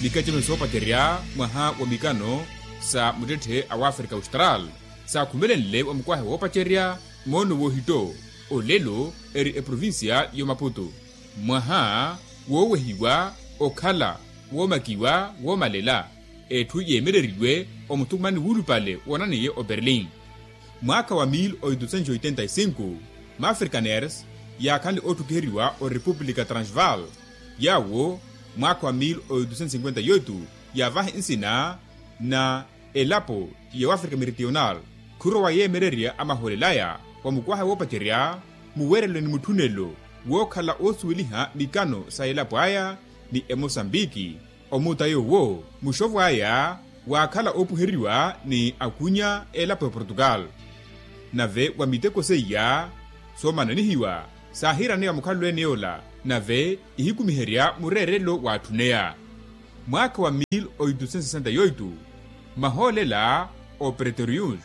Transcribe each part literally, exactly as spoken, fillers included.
Mikacemelo soopacerya mwaha wa mikano sa muttetthe a wafrika austral saakhumelenle wa mukwahe woopacerya moono woohitto. Olelo eri eprovincia y'omaputu mwaha woowehiwa okhala woomakiwa woomalela. Etthu yeemereriwe omuthukumani wuulupale woonaneiye oberlin. Mwaakha wa mil oitusentos oitenta e cinco, maafrikaners yaakhanle ootthukiheriwa orepublika transvaal. Yaawo mwaakha wa mil oitusentos cinquenta e oito yaavaha nsina na elapo ya wafrika meridional. Khurowa yeemererya amahoolelaya wa mukwaha woopacerya muwerelo ni mutthunelo wookhala oosuweliha mikano sa elapo aya ni emosambiki. Omuuta yoowo muxovo aya waakhala oopuheriwa ni akunya elapo ya portugal. Nave wa miteko seiya soomananihiwa saahiiraneya mukhalelo ene yoola nave ihikumiherya mureerelo waatthunneya. Mwaakha wa mil oitusentos sesenta e oito, mahoolela opretorius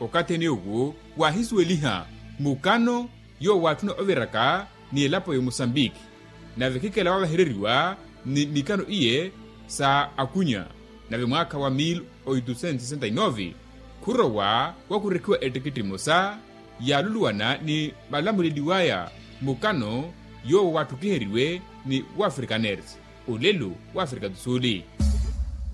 okathi ene yoowo waahisuweliha mukano yoowo waatthuna oviraka ni elapo ya mosambiki. Nave khikela waavehereriwa ni mikano iye sa akunya. Nave mwaakha wa mil oitusentos sesenta e nove khurowa wakurekhiwa ettikitthi emosa yaaluluwana ni malamuleliwaya mukano yoowo waatthukkiheriwe ni wafrikaners olelo wafrika do sul.